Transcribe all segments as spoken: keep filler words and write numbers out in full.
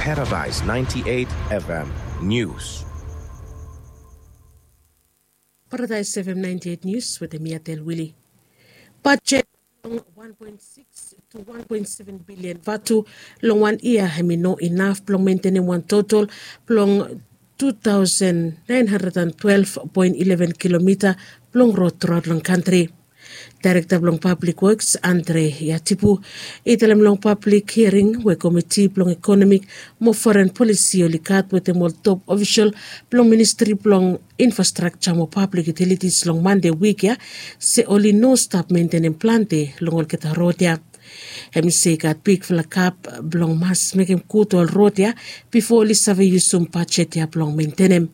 Paradise ninety-eight F M News. Paradise F M ninety-eight News wetem mi Atel Wili. Bajet blong wan poen sikis to wan poen seven bilian vatu long wan yia hemi no inaf blong mentenem wan total blong two thousand nine hundred and twelve poen eleven kilomita blong rod truaot long kantri. Daerekta blong Pablik Woks Andre Yatipu i talem long pablik hiaring we komiti blong ekonomik mo foren polisi oli gat wetem ol top ofisol blong ministri blong infrastrakja mo pablik yutilitis long Mande wik ya se oli no stap mentenem plante long olgeta rod ya. Hemi se i gat bigfala gap blong mas mekem gud ol rod ya bifo oli save yusum bajet ya blong mentenem.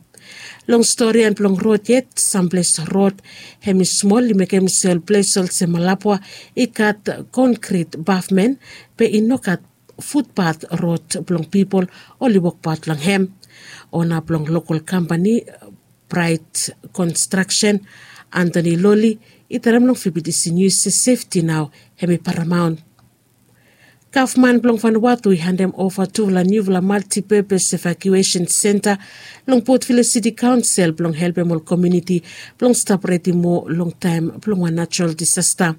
Long stori blong rod yet, samples rod hemi smol i mekem se ol ples olsem Malabwa i gat konkrit pavmen be i no gat futpat rod blong pipol oli wokbaot long hem. Ona blong lokol kampani Bright Construction, Anthony Loli, i talem long V B T C News se sefti nao hemi paramaon. Gavman blong Vanuatu i handem ova tufala niufala multipurpose evacuation center long Port Vila City Council blong helpem ol komuniti blong stap redi moa long taem blong wan natural disaster.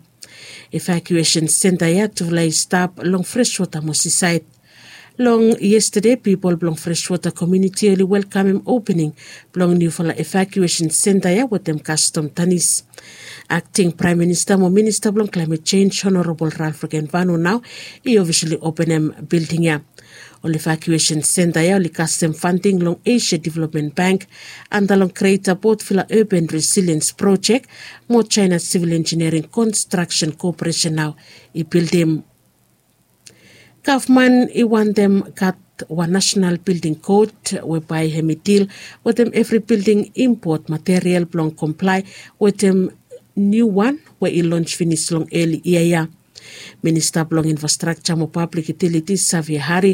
Evacuation center ya tufala i stap long Freshwater mo Seaside. Long yestade pipol blong Freshwater komuniti oli welkamem opening blong niufala evacuation center ya wetem kastom tanis. Akting Praem Minista mo Minista blong Klaemet Jenj Honorabol Ralph Regenvanu nao i ofisali openem bilding ya. Ol evacuation center ya oli kasem fanding long Asia Development Bank anda long Greater Port Vila Urban Resilience Project mo China Civil Engineering Construction Corporation nao i bildim. Gavman i wantem gat wan nasenal bilding kod we bae hemi dil wetem evri bilding impot material blong komplae wetem niu wan we i lons finis long eli yia ya. Minista blong Infrastrakja mo Pablik Yutilitis Xavier Hari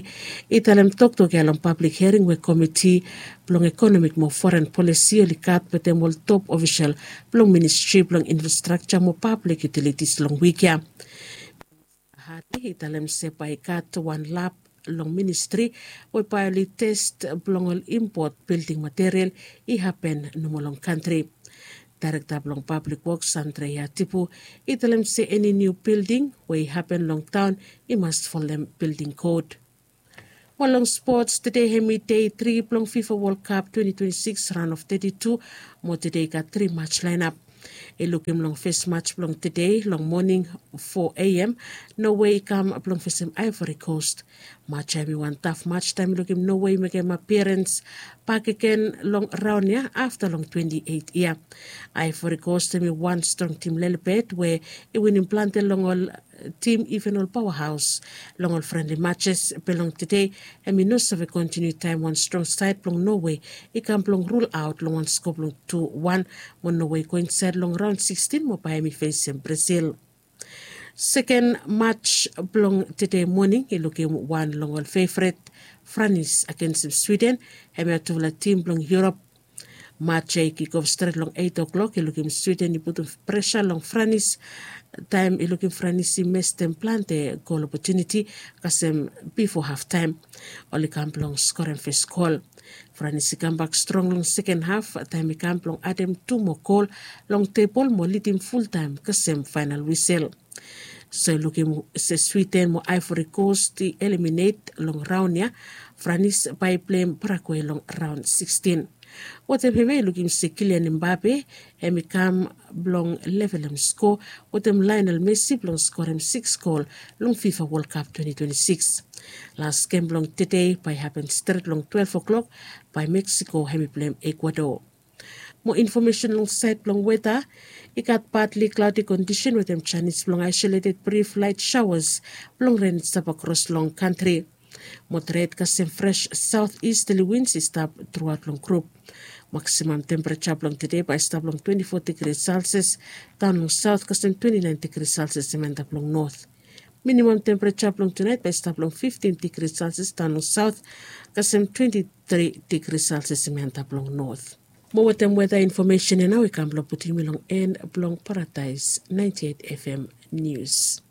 i talem toktok ya long pablik hiaring we komiti blong ekonomik mo foren polisi oli gat wetem ol top ofisol blong Ministri blong Infrastrakja mo Pablik Yutilitis long wik ya. Hari i talem se bae i gat wan lab long ministri we bae oli tes blong ol impot bilding material i hapen nomo long kantri. Daerekta blong Pablik Woks Andre Yatipu i talem se eni niu bilding we i hapen long taon i mas folem bilding kod. Mo long spots, tede hemi dei tri blong FIFA World Cup twenty twenty-six raon of thirty-two mo tede i gat tri mats laenap. I lukim long fes mats blong tede long moning four a.m. Norway i kam blong fesem Ivory Coast. Mats ya hemi wan taf mats taem i lukim Norway i mekem apiarens bakegen long raon ya afta long twenty-eight yia. Ivory Coast hemi wan strong tim lelebet we i winim plante long ol tim iven ol paoahaos long ol frenli matses. Be long tede hemi no save kontiniu taem wan strong saed blong Norway i kam blong rul aot long wan sko blong tu wan mo Norway i go insaed long raon sikstin mo bae hemi fesem Brazil. Seken mats blong tede moning i lukim wan long ol fevret, Franis agensem Swiden, hemia tufala tim blong Yurop. Mats ya i kikof stret long eit oklok. I lukim Swiden i putum presa long Franis taem i lukim Franis i mestem plante gol opotuniti kasem bifo haftaem oli kam blong skorem fes gol. Franis i kambak strong long seken haf taem i kam blong adem tu moa gol long tebol mo lidim fultaem kasem faenal wisel. So i lukim se Swiden mo Ivory Coast i eliminet long raon ya. Franis bae i pleim Paraguay long raon sikstin. Wetem hemia i lukim se Kylian Mbappe hemi kam blong levelem sko wetem Lionel Messi blong skorem siks gol long FIFA World Cup twenty twenty-six. Las gem blong tede bae i hapen stret long twelef oklok bae Mexico hemi pleim Ecuador. Mo infomesen long saed blong weta, i gat badli klaodi kondisen wetem janis blong aisoleted brif laet saoas blong ren i stap akros long kantri. Moderet kasem fres saotisterli wins i stap truaot long grup. Maksimam tempereja blong tede bae i stap long twenti fo digri selsias, daon long saot kasem twenti naen digri selsias hemi antap long not. Minimam tempereja blong tunaet bae i stap long fiftin digri selsias daon long saot kasem twenti tri digri selsias hemi antap long not. Mo wetem weta infomesen ya nao i kam blong putum yumi long en blong Paradaes ninety eight F M Nius.